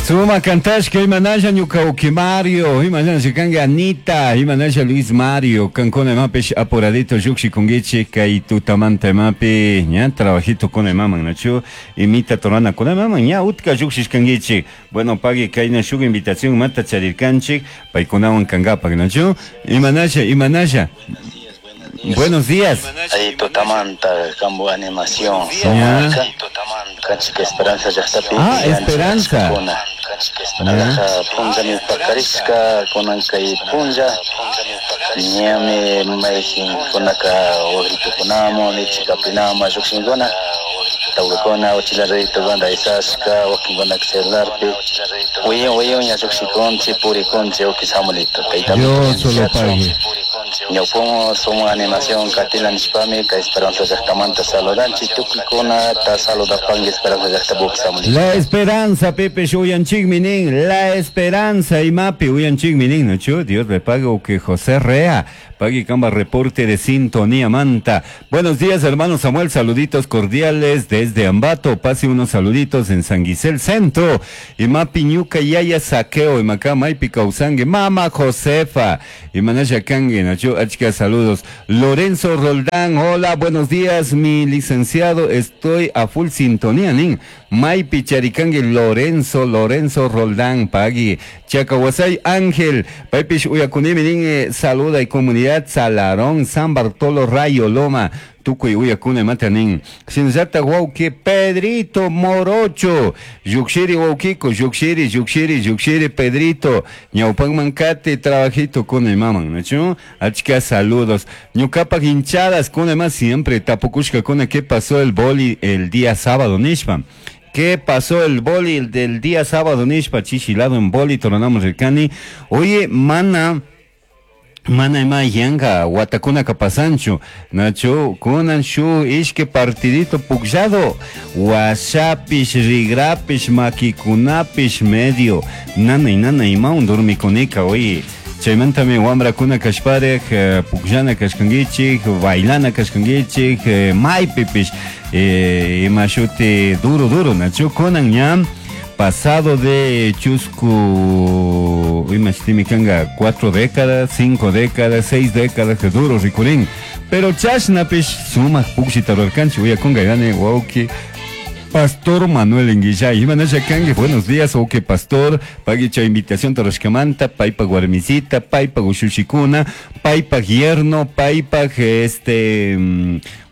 Suma cantashka imanalla ñuka uki Mario, imanalla kanki Anita, imanalla Luis Mario, kankuna imapish apuradito llukshikunkichik kay tutamanta imapi ña trabajito kuna imaman nachu imita torana kuna imaman ña utka llukshishkankichik. Bueno, pagui kayna shuk invitación imata charirkanchik paykunawan kankapak nachu imanalla imanalla. Buenos días. Ahí tutamanta kambu animación. Ya. Kanchik Esperanza llaqtapi. Ah, Esperanza. Alaja punllami pakarishka kunan kay punlla ñami mayqinkunaka wakritukunamun lichikapinamun llukshinkuna tawkakuna uchilla raytuguna aysashka wakinkunaka celularpi wiyon wiyonña llukshikunchik purikunchik uki Samuelito tayta Dios solo pague. Ñawpun suma animación katila nishpami kay Esperanza llaqtamanta saludanchik tukuykunata saludapanki Esperanza llaqtapi Samuelito. La Esperanza, Pepe, uyanchikmi nin. La Esperanza, imapi uyanchikmi nin, ¿no? Dios le pague o que José Rea. Pague camba reporte de sintonía manta. Buenos días, hermano Samuel. Saluditos cordiales desde Ambato. Pase unos saluditos en San Guisel Centro. Imapi ñuka yaya saqueo. Imacá maipi causangue. Mama Josefa. Imanaya kangue, nacho. Achka saludos. Lorenzo Roldán. Hola, buenos días, mi licenciado. Estoy a full sintonía, nin. Maipi Charicangue Lorenzo, Lorenzo Roldán, Pagui, Chacahuasay Ángel, Paipish Uyakunimi, nin, saluda y comunidad Salarón, San Bartolo Rayo Loma, Tucuy Uyakune Matanin, Shinzata Wauki, Pedrito Morocho, Yuxiri Waukiko, Yuxiri, Yuxiri, Yuxiri, Pedrito, Ñaupan Mancate, trabajito con el maman, ¿no? Achka saludos, Ñucapa hinchadas con el más siempre, Tapucushka con qué pasó el boli el día sábado, Nishpa. ¿Qué pasó el boli el del día sábado, Nishpa? Chichilado en boli, toronamos el cani. Oye, mana, mana ima yanga, watakuna kapasanchu, nacho, kunan shu, ishke partidito pukllado, washapish, rigrapish, makikunapish, medio, nana y nana imaun dormikunika, oye. Chaymantami wamrakuna kashparek, pukllana kashkankichik, bailana kashkankichik, maypipish, ima shuti duro duro, nacho, kunan ña, pasado de chusku, ima shutimi kanga, 4 décadas, 5 décadas, 6 décadas, que duro rikurin. Pero chashnapish sumak pukllita rurarkanchik, uyakunga gane wawki Pastor Manuel Enguillay, Imanasha Kangue, buenos días, ok Pastor, paguicha invitación toroscamanta, paipa guarmisita, paipa gushushikuna, paipa yerno, paipa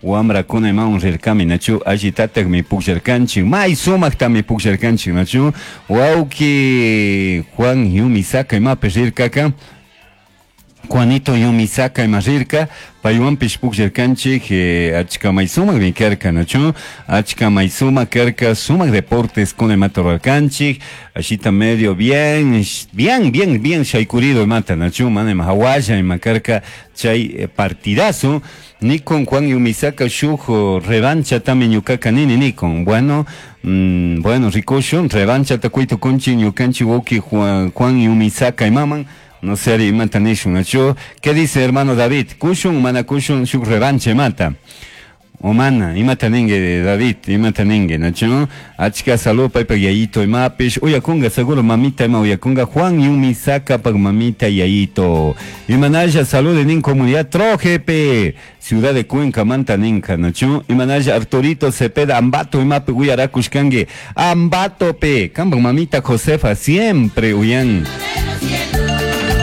wamrakuna imawan rirkami, nachu, allitataj mi pukllarkanchik, may sumakta mi pukllarkanchik, nachu, wawki Juan Yumisaka imapi rirkaka, Juanito Yumisaka ima rirka, paywanpish pukllarkanchik, achka may sumakmi karka, nachu, achka may sumak karka, sumak deportes kuna imata rurarkanchik, ashita medio bien, bien, bien, bien shaykurido imata, nachu, mana ima hawalla ima karka, chay partidazo, nikon Juan Yumisaka shuk revancha tami ñukaka nini nikon, bueno, bueno, rikushun, revancha takuy tukunchik ñukanchik wawki Juan Yumisaka imaman, no sé, imata nishun, nachu. ¿Qué dice hermano David? Kushun, mana kushun, shuk revanche mata. O mana, imata ningue David, imata ningue, nachu. Achka salud paypa yayito imapish, uyakunga seguro mamita ima uyakunga, Juan Yumisaka pag mamita yayito. Imanaya salud nin comunidad Trojepe, Ciudad de Cuenca manta ninka, nachu. Imanaya Arturito Cepeda, Ambato imapi uyarakushkangue, Ambato pe, kamba mamita Josefa siempre uyan.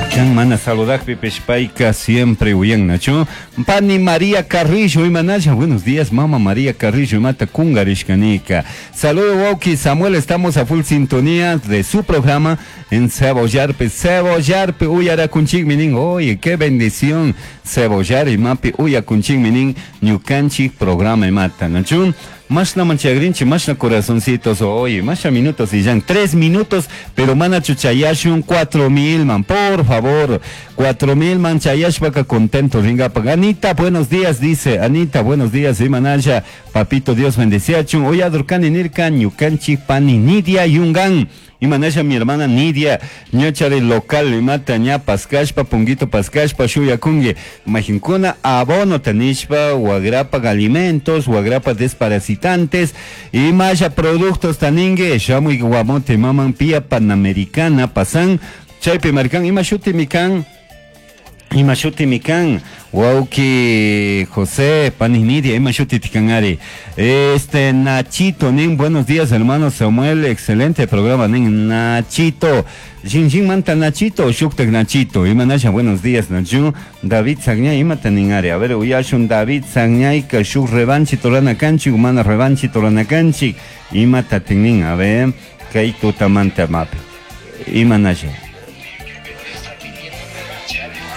Kan mana saludakpi pishpayka siempre uyan, nachu. Pani María Carrillo, imanaya, buenos días, mama María Carrillo, imata kungarishkanika. Saludo, Wauki Samuel, estamos a full sintonía de su programa en Cebollarpe, Cebollarpe, uyarakunchik minin, oye, qué bendición, Cebollar imapi uyakunchik minin, ñukanchik programa imata, nachu. Mashna manchagrinchi, mashna corazoncitos, oye, mashna minutos y ya, 3 minutos, pero mana chuchayashun 4000, man, por favor, 4000 man, chayashpaka contento, ringa, pa. Anita, buenos días, dice, Anita, buenos días, imanaya, Papito Dios bendeciachun. Uyadurkani nirka ñukanchik pani Nidia Yungan. Imanasha mi hermana Nidia, ñachari local imata ña paskashpa, punguito paskashpa, shuyakungi. Majinkuna abono tanishpa, wagrapa alimentos, wagrapa desparasitantes, imasha productos taningue, shamuy guamote maman pia panamericana pasan, chaypi marcan, ima shuti mikan, ima shuti mikan, wauki José pani Nidia, ima shuti tikanari. Este Nachito, nin, buenos días hermano Samuel, excelente programa, nin, Nachito. Jin manta Nachito, shuktak Nachito, imanasha, buenos días Nachu, David Sagñay, imata ninari, a ver, uyashun David Sagñay, ka shuk revanchi torana kanchik, mana revanchi torana kanchik, imata tinin, a ver, kay tutamanta mapi, imanasha.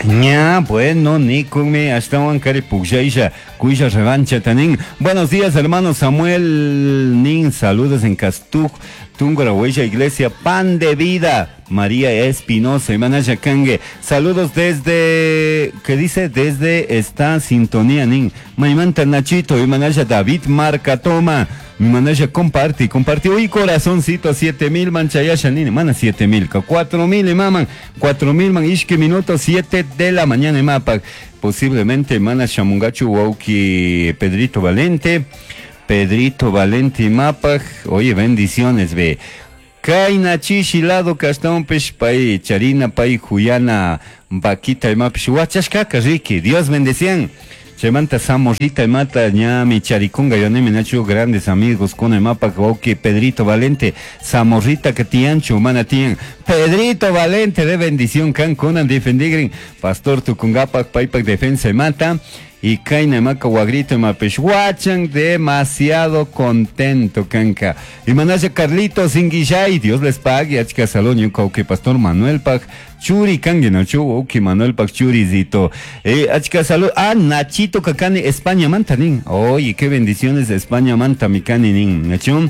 Ña, bueno, nikumi, hasta kari pukllaisha, kuisha revancha tanin. Buenos días, hermano Samuel Nin, saludos en Castuj, Tungura, Huella, Iglesia, Pan de Vida, María Espinosa, Imanaya Kangue. Saludos desde, ¿qué dice? Desde esta sintonía, Nin. Maimanta Nachito, Imanaya David Marca Toma. Mi manaya comparte, comparte. Uy, corazoncito, 7000 manchayasha, nin, mana 7000, 4000 maman, 4000 man, ishke minuto, 7 de la mañana, mapa. Posiblemente mana shamungachu wauki Pedrito Valente, Pedrito Valente mapa. Oye, bendiciones, ve. Kaina chishi lado castón pech pai charina pai juyana vaquita mapish huachashkaka riki. Dios bendecían. Chaymanta Samorrita mata ñami charikunga yonemi nachu grandes amigos con el mapa que Pedrito Valente Samorrita que tianchu mana tian Pedrito Valente de bendición can kunan defendigrin pastor tukungapak paipak defensa mata y kaina maka wagrito mapesh huachan demasiado contento kanka y manasha Carlitos Inguillay Dios les pague achka salón yuka pastor Manuel Pag Churi kangi no chu uki Manuel Pag churizito achka salud ah Nachito kakani España manta nin oye qué bendiciones de España manta mikani nin nachun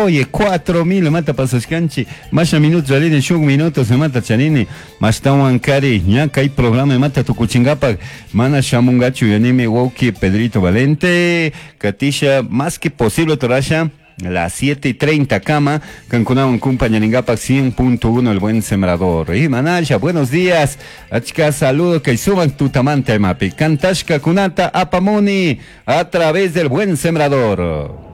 oye 4000 mata pasashkanchi masha minuto charini shuk minuto se mata charini mashtawan kari ña kay programa mata tukuchingapak mana shamungachu yanimi wauki Pedrito Valente Katisha más que posible torasha las 7:30 cama, Cancunawan compañaringapak 100.1 el buen sembrador. Y Manaya, buenos días. Achka saludo que suban tutamante mapi. Cantashka kunata apamoni a través del buen sembrador.